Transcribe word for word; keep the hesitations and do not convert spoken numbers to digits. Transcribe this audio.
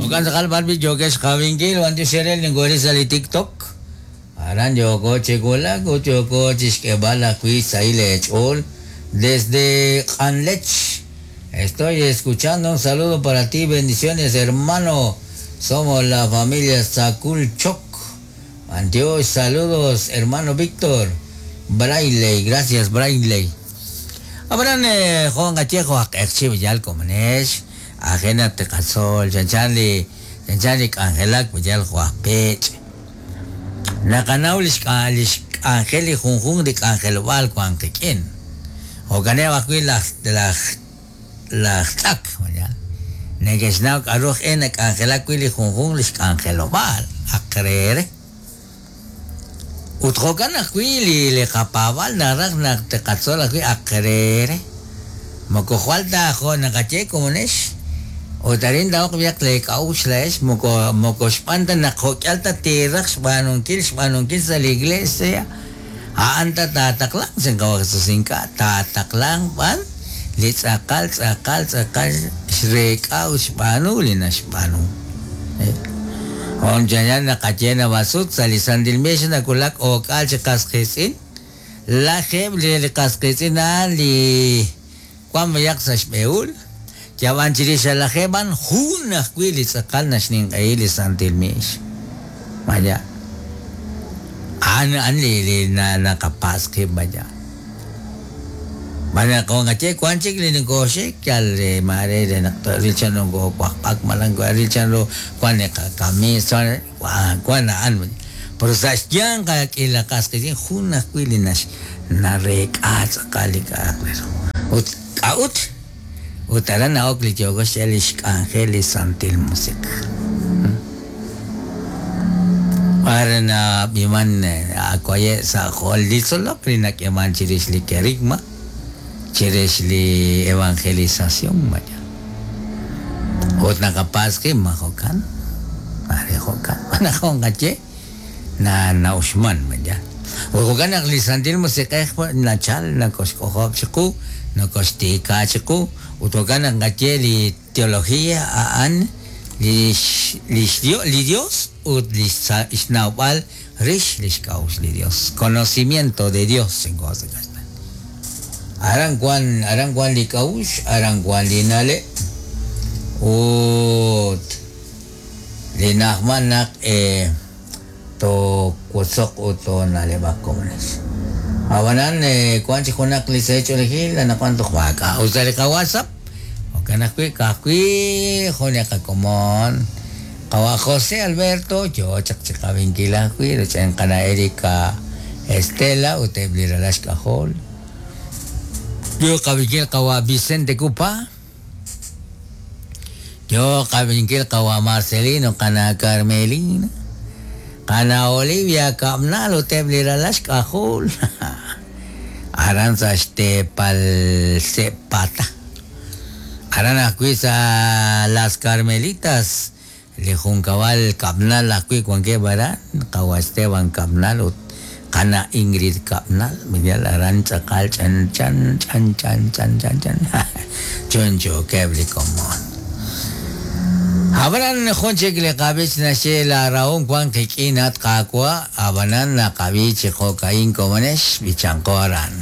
Jo'kan tz'aqal b'ar wi' yookex qawinkil b'antiox eere ninkori sa' li TikTok. Aran yooko chi wulak ut yooko chixk'eeb'al ajwi' sahil eech'ool desde Q'anlech. Estoy escuchando un saludo para ti, bendiciones, hermano. Somos la familia Sakul Chok. Antiox, saludos, hermano Víctor. Braille, gracias, Braille. Abraham, eh, Juan Gallejo, ak'eqchi yal komonex, ajena teqatzol, chanchan li, chanchan li k'anjelak yal juaj pech. Naqanaw lix k'a- lix k'anjel li junjun li k'anjelob'aal wan qik'in. Jo'kaneb' ajwi' laj laj laj tz'ak, ya. Neke'xnaw k'a'ru aj e nak'anjelak wi' li junjun lix k'anjelob'aal aq reere. Ut jo'kan ajwi' li li qapaab'al naraj naq teqatzol ajwi' aq reere. Moko jwal ta jo' naqaye komonex. Ut arin taoq b'ayaq le k'a'uxl la'ex moko moko xb'aan ta naq jo'k'al ta tiraj xb'aanunkil xb'aanunkil sa' li iglesia. A'an ta taataqlan sin qawa Jesús ink'a' taataqlan b'an li tz'aqal tz'aqal tz'aqal xreek'a ut xb'aanu li naxb'aanu. Eh. Onchayan naqaye nabasut sa' li Santil Mix nakulak ok'al chi qasqitz'in. Lajeb' li li qasqitz'in a'an li wan b'ayaq sa' xb'ehul. Yab'an chirix lajeb' an jun ajwi' li tz'aqal naxninq'ehi li Santil Mix. Vaya. An an li li na naqapas qib' vaya. Bana kung ngache kwan chik li nkoxik yal eh, mare de naq ril chan ko kwak malang ko ril chan ro kwan ne kamisa kwan kwan an pero sa xyan ka k'ila qas qi jun ajwi' li nax nareek'a tz'aqal li k'a'aq re ru. Ut k'a'ut ut aran na'ok li yooko xye li xk'anjel li Santil Musiq'ej. Para na biman akwaye sa jol li tzolok li nak'eman chirix li kerigma chirix li evangelización vaya. Ut naqapas qib' ma jo'kan mare jo'kan naqon qaye na nauxman vaya. Ut jo'kan naq li Santil Musiq'ej nachal nakoxk'ojob' chiqu nakoxtiika chiqu ut jo'kan naq qaye li teología a'an lix lix Dio li Dios ut lix xnawb'al rix lix k'a'uxl li Dios, conocimiento de Dios en cosa castellana. Aran wan aran wan li k'a'uxl, aran wan li na'leb' ut li na'ajman naq eh, toowosoq ut toona'leb'aq komonex. Ab'anan eh, wan chi junaq li seech'oolejil anaqwan toj maak'a' ut sa' li qaWhatsApp jo'kan ajwi' ka'ajwi' jun li qakomon qawa José Alberto yoo chaq chi qawinkil ajwi' roch'en qana Erika Estela ut eb' li ralal xk'ajol. Yo qawinkil qawa Vicente Cupa. Yo qawinkil qawa Marcelino qana Carmelina. Qana Olivia Kabnal ut eb' li ralal xk'ajol. Aran sa' xteepal Sepata. Aran ajwi' sa' Las Carmelitas li junkab'al Kabnal ajwi' wankeb' aran qawa Esteban Kabnal ut qana Ingrid Kabnal Miguel aran tz'aqal chan chan chan chan chan chan chan chunchukeb' li komon. Ab'anan jun chik li qab'ich naxye la rahom wan qik'in at qaawa' ab'anan naqab'i chi jo'ka'in komonex b'ichanqo aran.